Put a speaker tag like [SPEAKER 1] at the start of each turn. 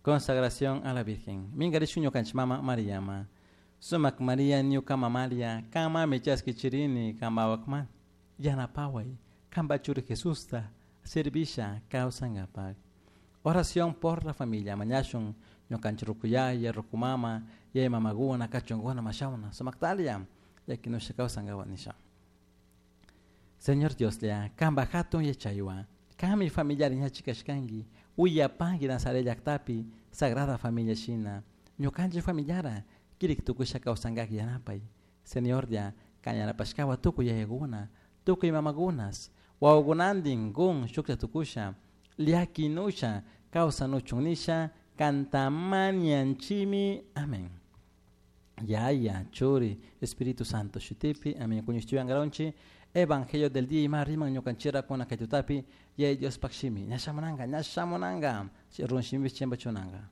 [SPEAKER 1] Consagración a la Virgen. Minkarishun ñukanchik mama Mariama. Sumak Maria ñuka mamalia, kanmami chaskichirini kanpawakman. Yanapaway, kanpa churi Jesusta, servisha kawsankapak. Oración por la familia. Mañashun ñukanchik rukuyaya, rukumama, yaya mamakuna, kachunkuna, mashawna, sumaktalia, llakinusha kawsankapak nisha. Señor Dioslla, kanpa hatun yachaywan, kanmi familiar ñachikashkanki, uyapanki Nazaret llaktapi, Sagrada Familia shina, ñukanchik familiara, kirik tukusha kawsankak yanapay. Señorlla, kan yanapashkawa tukuy yayakuna, tukuy mamakunas, wawakunantin kun shuklla tukusha, llakinusha kawsanuchun nisha, kanta mañanchimi. Amén. Yaya, Churi, Espíritu Santo shutipi, amén. Kuñishtuyankaronchi, Evangelio del día ima riman ñukanchira kuna kay tutapi, Yaya Diospaj shimi, ña shamunanka, ña shamunanka, run shimipish chimpachunanka.